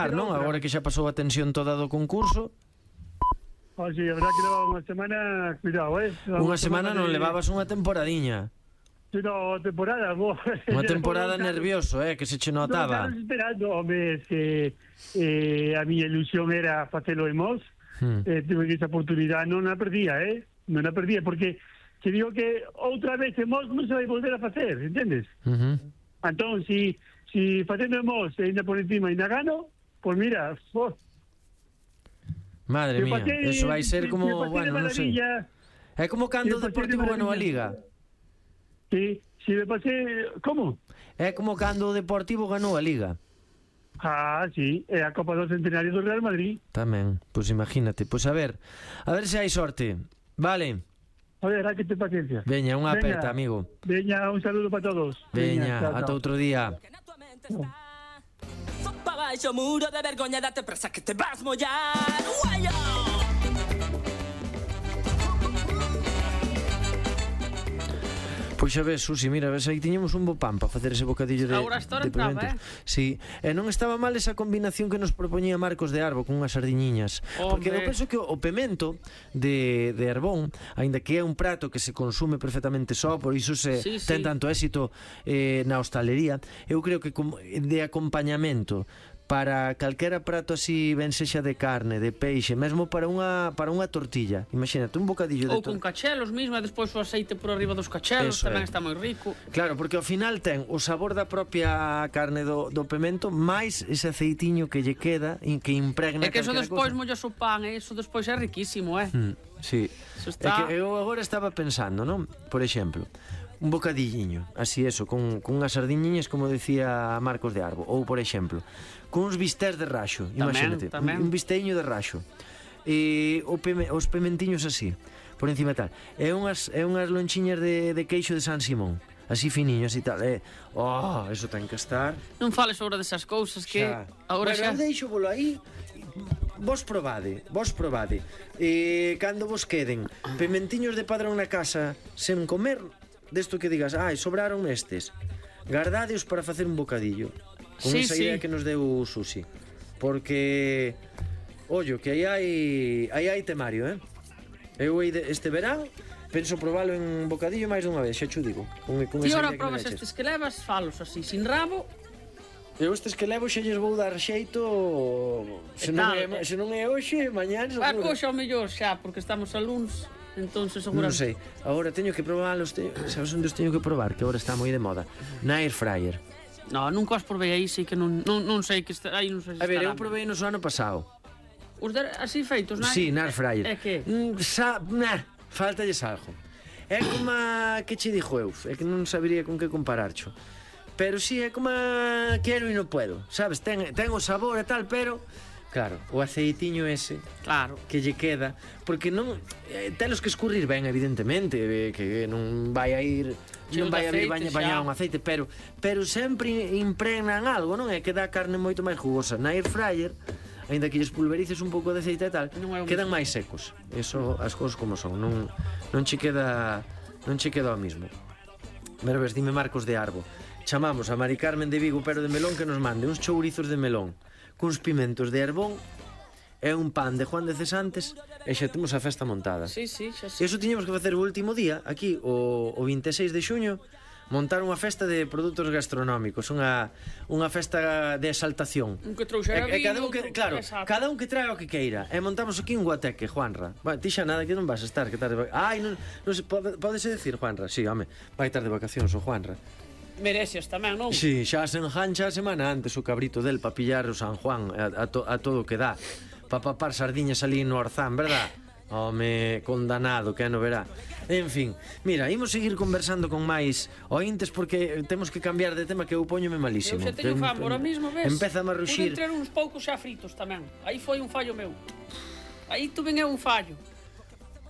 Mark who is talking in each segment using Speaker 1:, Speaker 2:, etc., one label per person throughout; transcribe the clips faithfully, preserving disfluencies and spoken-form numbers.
Speaker 1: non? Agora que xa pasou a tensión toda do concurso.
Speaker 2: Oxe, a verdad que levaba unha semana, cuidado, eh?
Speaker 1: Unha semana non levabas unha temporadiña.
Speaker 2: Sí, no, temporada, vos.
Speaker 1: Unha temporada nervioso, eh, que se che notaba.
Speaker 2: Non, esperando, home, que eh, a miña ilusión era facelo en Mos. Hmm. Eh, tuve que esa oportunidade non a perdía, eh? Non a perdía, porque que digo que outra vez en Mos non se vai volver a facer, entendes? Uh -huh. Entón, si, si facendo en Mos e ainda por encima ainda gano, pois pues mira, oh.
Speaker 1: Madre mía, pasé, eso vai ser como, bueno, non sei. É como cando o Deportivo ganou a Liga.
Speaker 2: Sí, si me pasé, como?
Speaker 1: É como cando o Deportivo ganou a Liga.
Speaker 2: Ah, sí, é a Copa do Centenario do Real Madrid.
Speaker 1: Tamén, pois pues imagínate. Pois pues a ver, a ver se hai sorte. Vale.
Speaker 2: A ver, hai que ter paciencia.
Speaker 1: Veña, unha aperta, amigo.
Speaker 2: Veña, un saludo para todos.
Speaker 1: Veña, Veña ata outro día.
Speaker 3: Baixo muro de vergoña, date presa que te vas mollar. Guayo.
Speaker 1: Pois xa ves, Susi, mira, ves, aí tiñemos un bo pan para facer ese bocadillo de, de pimentos. Eh? Sí, e non estaba mal esa combinación que nos propoñía Marcos de Arbo con unhas sardiñiñas. Hombre. Porque eu penso que o pemento de, de Arbón, aínda que é un prato que se consume perfectamente só, por iso se sí, ten sí. tanto éxito eh, na hostalería, eu creo que de acompañamento para calquera prato así, ben sexa de carne, de peixe, mesmo para unha para unha tortilla. Imagínate, un bocadillo de
Speaker 4: ou con cachelos mismo, e despois o aceite por arriba dos cachelos. Eso tamén é. Está moi rico.
Speaker 1: Claro, porque ao final ten o sabor da propia carne do, do pemento, máis ese aceitiño que lle queda e que impregna.
Speaker 4: É que eso despois mollas o pan, e eso despois é riquísimo, eh?
Speaker 1: Mm, sí. Está... É que eu agora estaba pensando, non? Por exemplo, un bocadilliño, así eso, con, con unhas sardiñiñas, como decía Marcos de Arbo, ou por exemplo, con uns bistés de raxo, imagínate, tamén, tamén. Un, un bisteño de raxo, e o peme, os pementiños así, por encima tal, e unhas, e unhas lonchiñas de, de queixo de San Simón, así finiños e tal, e, oh, eso ten que estar.
Speaker 4: Non fales agora desas cousas que
Speaker 1: xa.
Speaker 4: Agora
Speaker 1: bueno,
Speaker 4: xa...
Speaker 1: deixo volo aí. Vos probade, vos probade, e cando vos queden pementiños de padrón na casa sen comer, desto que digas, ai, sobraron estes, gardádeos para facer un bocadillo. Con sí, esa idea sí. que nos deu Susi. Porque ollo, que aí hai aí hai temario, eh? Eu este verán penso probalo en bocadillo máis dunha vez, xa cho digo.
Speaker 4: Con, con Ti ora probas estes que levas, falos así, sin rabo.
Speaker 1: Eu estes que levo xa lles vou dar xeito. Se non é, se non é hoxe, mañán seguro.
Speaker 4: Ah, hoxe ao mellor xa, porque estamos a luns. Entonces seguramente.
Speaker 1: Non sei, agora teño que probalos, te... sabes onde os teño que probar, que agora está moi de moda. Na air fryer.
Speaker 4: No, nunca os probei aí, sei que non, non, non sei que está, aí non sei se
Speaker 1: a ver, eu probei no ano pasado.
Speaker 4: Os de, así feitos, non?
Speaker 1: Sí, na air fryer.
Speaker 4: É que?
Speaker 1: Mm, sa, nah, faltalles algo. É como a... que che dixo eu, é que non sabería con que compararcho. Pero sí, é como a... quero e non puedo, sabes? Ten, ten o sabor e tal, pero... Claro, o aceitiño ese,
Speaker 4: claro,
Speaker 1: que lle queda, porque non eh, telos que escurrir ben, evidentemente, eh, que non vai a ir, non vai a vir baña, bañar un aceite, pero pero sempre impregnan algo, non? É que dá a carne moito máis jugosa. Na air fryer, aínda que lles pulverices un pouco de aceite e tal, quedan máis secos. Eso, as cousas como son, non non che queda non che queda o mismo. Pero ves, dime Marcos de Arbo, chamamos a Mari Carmen de Vigo, pero de melón, que nos mande uns chourizos de melón cuns pimentos de Arbón e un pan de Juan de Cesantes, e xa temos a festa montada.
Speaker 4: Sí, sí, xa sí.
Speaker 1: Eso tiñemos que facer o último día, aquí, o, o vinte e seis de xuño, montar unha festa de produtos gastronómicos, unha, unha festa de exaltación.
Speaker 4: Un que trouxera
Speaker 1: e, e
Speaker 4: vino,
Speaker 1: cada un que, claro, exacto. Cada un que traga o que queira. E montamos aquí un guateque, Juanra. Vai, ti xa nada que non vas a estar, que tarde. Ai, non, non se pode, pódese decir, Juanra. Si, sí, home, vai estar de vacacións o Juanra.
Speaker 4: Mereces tamén, non?
Speaker 1: Si, sí, xa se enjancha a semana antes o cabrito del pa pillar o San Juan a, a, to, a todo o que dá, pa papar sardiñas ali no Orzán, verdad? Home, condanado, que non verá. En fin, mira, imos seguir conversando con máis ointes, porque temos que cambiar de tema, que eu poñome malísimo.
Speaker 4: Eu xa teño famo, ahora mismo, ves?
Speaker 1: Empeza a marruxir.
Speaker 4: Pude entrar uns poucos xa fritos tamén. Aí foi un fallo meu. Aí tuve un fallo.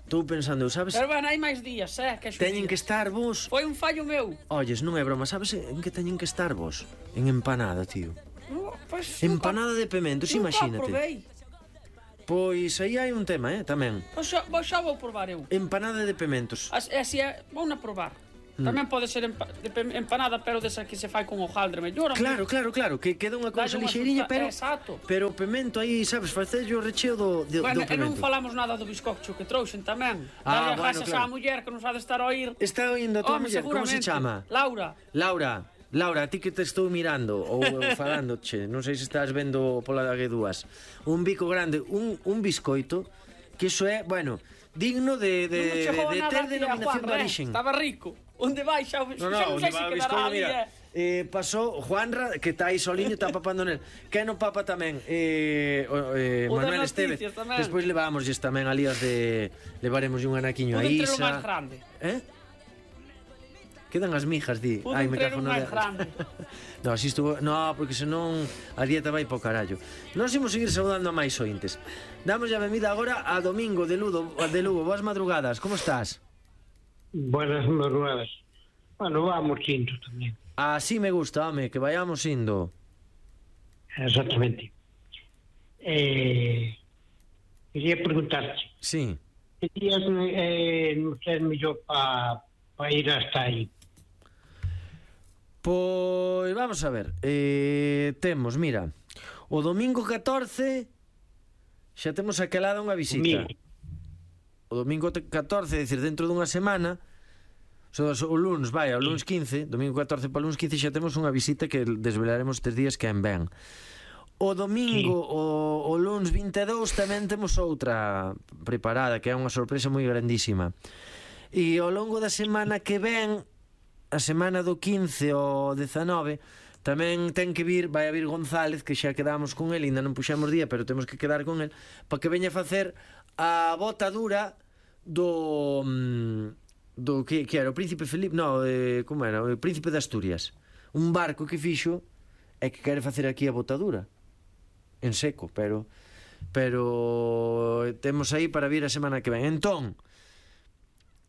Speaker 1: Estou pensando, sabes?
Speaker 4: Pero bueno, hai máis días, eh? Que
Speaker 1: teñen que estar vos.
Speaker 4: Foi un fallo meu.
Speaker 1: Olles, non é broma, sabes en que teñen que estar vos? En empanada, tío.
Speaker 4: No, pues,
Speaker 1: empanada
Speaker 4: nunca,
Speaker 1: de pementos,
Speaker 4: nunca
Speaker 1: imagínate.
Speaker 4: Probei.
Speaker 1: Pois aí hai un tema, eh, tamén.
Speaker 4: Pois xa, xa vou probar eu.
Speaker 1: Empanada de pementos.
Speaker 4: As, así, vou na probar. Tamén pode ser empa de empanada, pero desa que se fai con hojaldre mellor.
Speaker 1: Claro, claro, claro, que queda unha cousa lixeiriña, pero
Speaker 4: Exacto.
Speaker 1: pero o pemento aí, sabes, facerlle o recheo do, do,
Speaker 4: bueno,
Speaker 1: do pemento.
Speaker 4: E non falamos nada do bizcocho que trouxen tamén.
Speaker 1: Ah,
Speaker 4: Dale
Speaker 1: bueno,
Speaker 4: a
Speaker 1: claro.
Speaker 4: a muller que non sabe estar a oír.
Speaker 1: Está oindo a tua muller, como se chama?
Speaker 4: Laura.
Speaker 1: Laura, Laura, a ti que te estou mirando ou falando, che, non sei se estás vendo pola da dúas. Un bico grande, un, un biscoito, que iso é, bueno, digno de, de, de, de ter denominación de orixen.
Speaker 4: Estaba rico. Onde vai xa,
Speaker 1: no, no,
Speaker 4: xa non sei se quedará ali,
Speaker 1: mira, eh, pasou Juanra, que está aí soliño, está papando nel. Que no papa tamén eh, eh, Manuel Estevez. Despois levámosles tamén ali as de... Levaremos un anaquiño a Isa.
Speaker 4: Pudo máis grande.
Speaker 1: Eh? Quedan as mijas, di.
Speaker 4: Pudo
Speaker 1: Ai, me cago
Speaker 4: máis grande.
Speaker 1: No, así estuvo... No, porque senón a dieta vai po carallo. Nós imos seguir saudando a máis ointes. Damos a benvida agora a Domingo de Lugo, de Lugo. Boas madrugadas, como estás?
Speaker 5: Buenas madrugadas. Bueno, vamos indo tamén.
Speaker 1: Así me gusta, home, que vayamos indo.
Speaker 5: Exactamente. Eh, quería preguntarte.
Speaker 1: Sí.
Speaker 5: Que días eh, non é mellor para pa ir hasta aí?
Speaker 1: Pois vamos a ver. Eh, temos, mira, o domingo catorce xa temos aquelada unha visita.
Speaker 5: Domingo.
Speaker 1: O domingo catorce, é dicir, dentro dunha semana, so, so, o lunes, vai, o lunes quince, domingo catorce para o lunes quince xa temos unha visita que desvelaremos tres días que en ben. O domingo, sí. o, o lunes vinte e dous tamén temos outra preparada, que é unha sorpresa moi grandísima. E ao longo da semana que ven, a semana do quince ao dezanove, tamén ten que vir, vai a vir González, que xa quedamos con el, ainda non puxemos día, pero temos que quedar con el, para que veña a facer a botadura do do que, que era o Príncipe Felipe, no, eh, como era, o Príncipe de Asturias, un barco que fixo e que quere facer aquí a botadura en seco, pero pero temos aí para vir a semana que ven. Entón,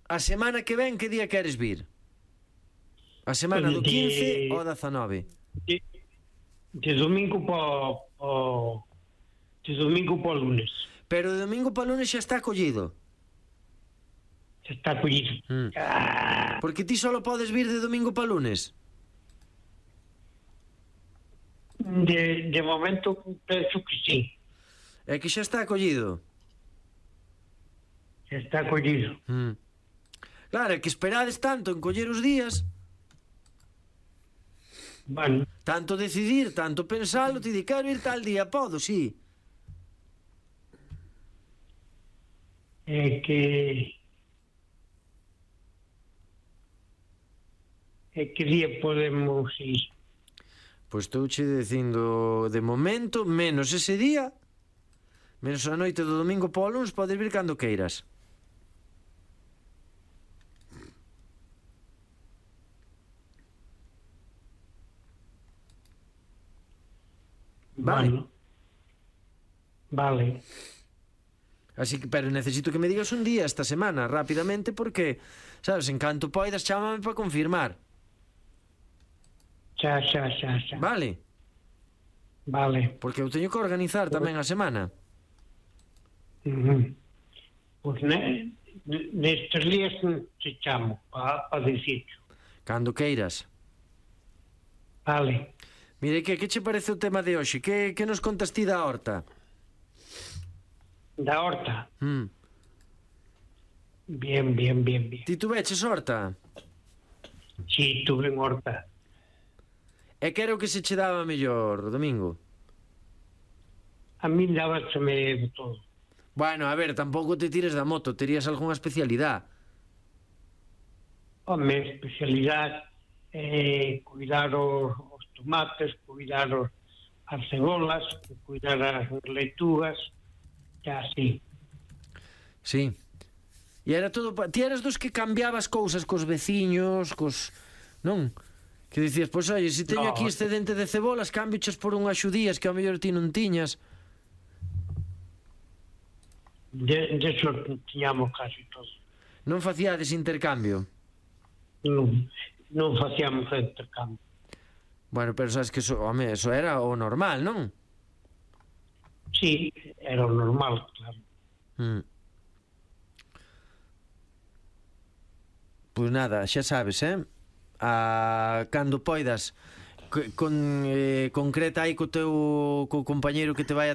Speaker 1: a semana que ven, que día queres vir? A semana do quince ou dezanove?
Speaker 5: De, de domingo para de domingo para lunes.
Speaker 1: Pero de domingo para lunes xa está collido.
Speaker 5: Xa está collido.
Speaker 1: Mm.
Speaker 5: Ah.
Speaker 1: Porque ti só podes vir de domingo para lunes.
Speaker 5: De, de momento penso que sí.
Speaker 1: É que xa está collido.
Speaker 5: Xa está collido.
Speaker 1: Mm. Claro, é que esperades tanto en coller os días.
Speaker 5: Bueno.
Speaker 1: Tanto decidir, tanto pensalo, ti di, quero ir tal día, podo, sí.
Speaker 5: É que é que día podemos ir?
Speaker 1: Pois estou che dicindo de momento, menos ese día, menos a noite do domingo para o lunes, podes vir cando queiras. Vale.
Speaker 5: Bueno. Vale.
Speaker 1: Así que, pero necesito que me digas un día esta semana, rapidamente, porque, sabes, en canto poidas, chámame para confirmar.
Speaker 5: Xa, xa, xa, xa.
Speaker 1: Vale?
Speaker 5: Vale.
Speaker 1: Porque eu teño que organizar tamén a semana.
Speaker 5: Uh-huh. Pois ne, nestes días te chamo para pa dicirte.
Speaker 1: Cando queiras.
Speaker 5: Vale.
Speaker 1: Mire, que, que che parece o tema de hoxe? Que, que nos contas ti da horta?
Speaker 5: Da horta?
Speaker 1: Mm.
Speaker 5: Bien, bien, bien, bien.
Speaker 1: Ti tuveches horta?
Speaker 5: Sí, tuve horta.
Speaker 1: E que era o que se che daba mellor, Domingo?
Speaker 5: A mí dábaseme de todo.
Speaker 1: Bueno, a ver, tampouco te tires da moto, terías algunha especialidade?
Speaker 5: Home, especialidade é eh, cuidar os, os tomates, cuidar os, as cebolas, cuidar as leitugas, xa así.
Speaker 1: Sí. E era todo... Pa... Ti eras dos que cambiabas cousas cos veciños, cos... Non? Que dicías, pois, oye, se teño no. aquí excedente de cebolas, cambiochas por unhas xudías que ao mellor ti non tiñas.
Speaker 5: De, de eso tiñamos casi todo.
Speaker 1: Non facíades intercambio?
Speaker 5: Non, non facíamos intercambio.
Speaker 1: Bueno, pero sabes que eso, home, eso era o normal, non?
Speaker 5: Sí, era o normal, claro.
Speaker 1: Mm. Pois nada, xa sabes, eh? A, cando poidas con, eh, concreta aí co teu co compañeiro que te vai a